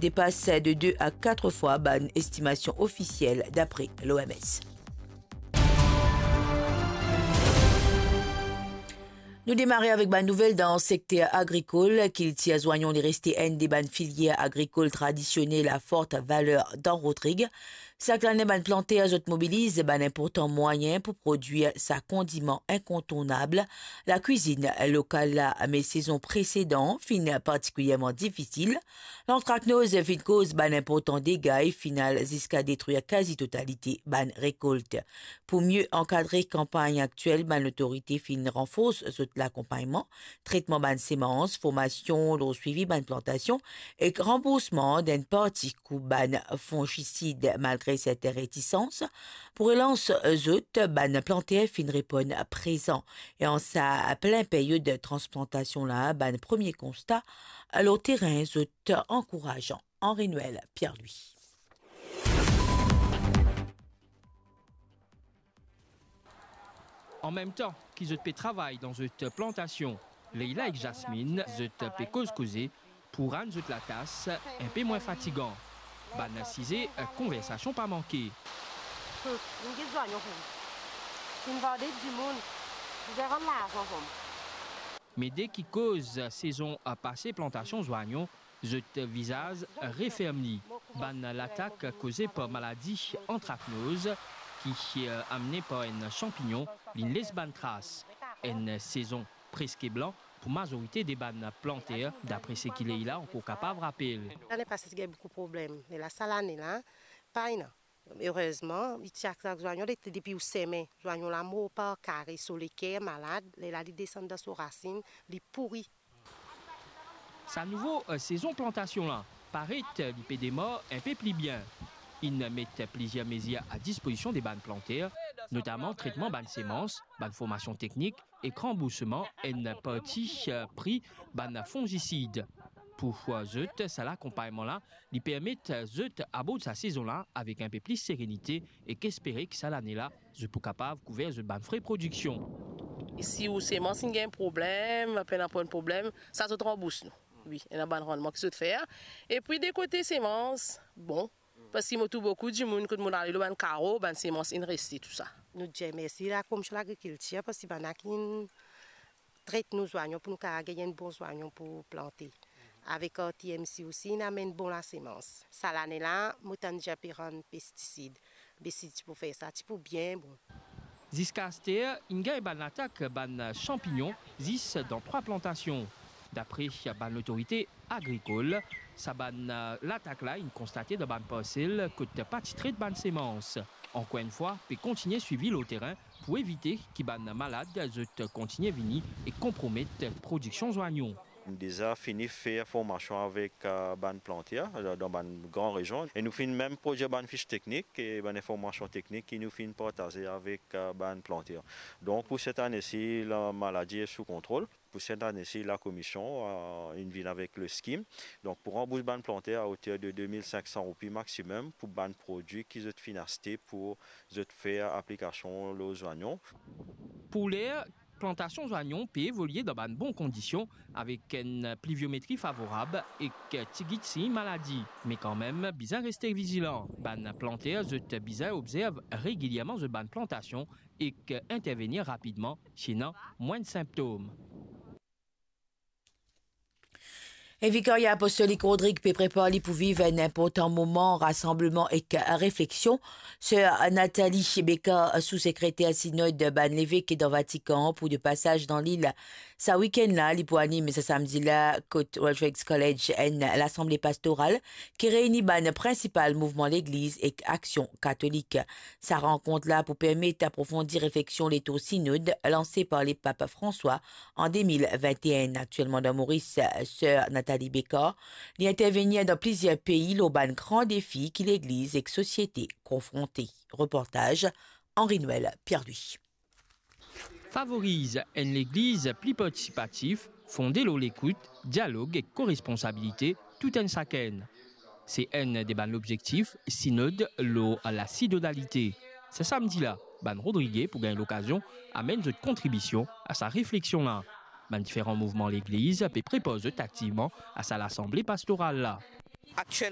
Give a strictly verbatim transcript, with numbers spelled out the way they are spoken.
depas de de a kat fwa bann estimasion ofisiel, dapre l'O M S. Nou demare avek bann nouvel dan sekter agrikol. Kiltir zwanyon li reste enn de bann filier agrikol tradisionel a fort valer dan Rodrig. Sak lane, bann planter zot mobiliz bann inportan mwayin pou prodwir sa kondiman inkontournab lakwizinn lokal la, me sezon presedan finn partikilierman difisil. Lantraknoz finn koz bann inportan dega e finn al ziska detrir kazi totalite bann rekolt. Pou mie ankadre kanpagn aktiel, bann lotorite finn ranfors zot lakonpagnman, tretman bann semans, formasion lor swivi bann plantasion ek ranboursman d'enn parti kou bann fongisid, malgre sertin retisans. Pou relans zot, bann planter finn reponn prezan. E an sa plin period transplantasion la, bann premie konsta lor terin zot ankourasan. Henri Noël Pierre-Louis. An mem tan ki zot pe travay dan zot plantasion, Leila ek Jasmine, zot pe koz koze pou rann zot latas inpe mwin fatigan. Bann size konversasion pa manke. Hmm, nou get zwanyon pou ou. Finn vande dimoun, bizin rann larzan pou ou. Me de ki koz sezon pase plantasion zwanyon, zot vizaz referm li. Bann latak koze par maladi antraknoz ki, eh, amne par enn sanpignon, linn les bann tras. Enn sezon preske blan pou mazorite de bann planter, dapre seki Leila ankor kapav rapel. Lane pase ti gagn boukou problem, me la sa lane la, pa ena. Erezman, li ti atak zwanyon, li te depi ou seme, zwanyon la mor par kare, so leker malad, lerla li desann dan so rasinn, li pouri. Sa nouvo, eh, sezon plantasion la, paret li pe demar inpe pli bien. Inn met plizier mezir a dispozision de bann planter, notaman tretman bann semans, bann formasion teknik ek ranboursman enn parti, eh, pri bann fongisid. Pou zot, sa lakonpagnman la, li permet zot abord sa sezon la avek inpe plis serenite ek espere ki sa lane la, zot pou kapav kouver zot bann fre prodiksion. Si ou semans inn gagn problem, pena pran problem, sa zot ranbours nou. Wi, ena bann rannman ki zot fer. Epi de kote semans, bon, parski mo trouv boukou dimoun kot mo ale lor bann karo, bann semans inn reste, tou sa. Nou dir mersi la Komisyon Lagrikiltir, parski bann la ki inn tret nou zwanyon pou nou kapav gagn enn bon zwanyon pou plante. Avek, eh, T M C osi, inn amenn bon lasemans. Sa lane la, mo tann dir pe rann pestisid. Me si ti pou fer sa, ti pou bien bon. Ziska aster, inn gagn bann latak bann sanpignon zis dan trwa plantasion. Dapre bann lotorite agrikol, sa bann, eh, latak la inn konstate dan bann parsel kot pa ti tret bann semans. Ankor enn fwa, pe kontigne swivi lor terin pou evite ki bann malad zot kontigne vini e konpromet prodiksion zwanyon. Nou deza fini fer formasion avek, eh, bann planter, eh, dan bann gran rezion. E nou finn mem prodwir bann fich teknik e bann informasion teknik ki nou finn partaze avek, eh, bann planter. Donk, pou set ane si, lamaladi e sou kontrol. Pou set ane si, lakomision, eh, inn vinn avek le skim. Donk, pou ranbours bann planter a oter de de mil sink san roupi maximum pou bann prodwi ki zot finn aste pou zot fer aplikasion lor zwanyon. Pou ler, plantasion zwanyon pe evolie dan bann bon kondision avek enn pliviometri favorab ek tigit sign maladi. Me kanmem, bizin reste vizilan. Bann planter zot bizin obzerv regilierman zot bann plantasion ek intervenir rapidman si ena mwin sinptom. E Vikarya Apostolik Rodrig pe prepar li pou viv enn inportan moman rasanbleman ek refleksion. Ser Nathalie Becard, sou-sekreter sinod bann levek dan Vatikan, pou de pasaz dan lil sa wikenn la. Li pou anim sa samdi la kot Rodrigues College enn lasanble pastoral ki reini bann prinsipal mouvman legliz ek aksion katolik. Sa rankont la pou permet aprofondi refleksion letour sinod lanse par Lepap François an de mil vinte-enn. Aktielman dan Moris, Ser Nathalie Becard, li intervenir dan plizier pei lor bann gran defi ki legliz ek sosiete konfronte. Reportaz Henri Noël Pierre-Louis. Favoriz enn legliz pli partisipatif, fonde lor lekout, dialog ek koresponsabilite tou enn sakenn. Se enn de bann lobzektif sinod lor lasinodalite. Sa samdi la, bann Rodrige pou gagn lokazion amenn zot kontribision a sa refleksion la. Bann diferan mouvman legliz pe prepar zot aktivman a sa lasanble pastoral la. Aktiel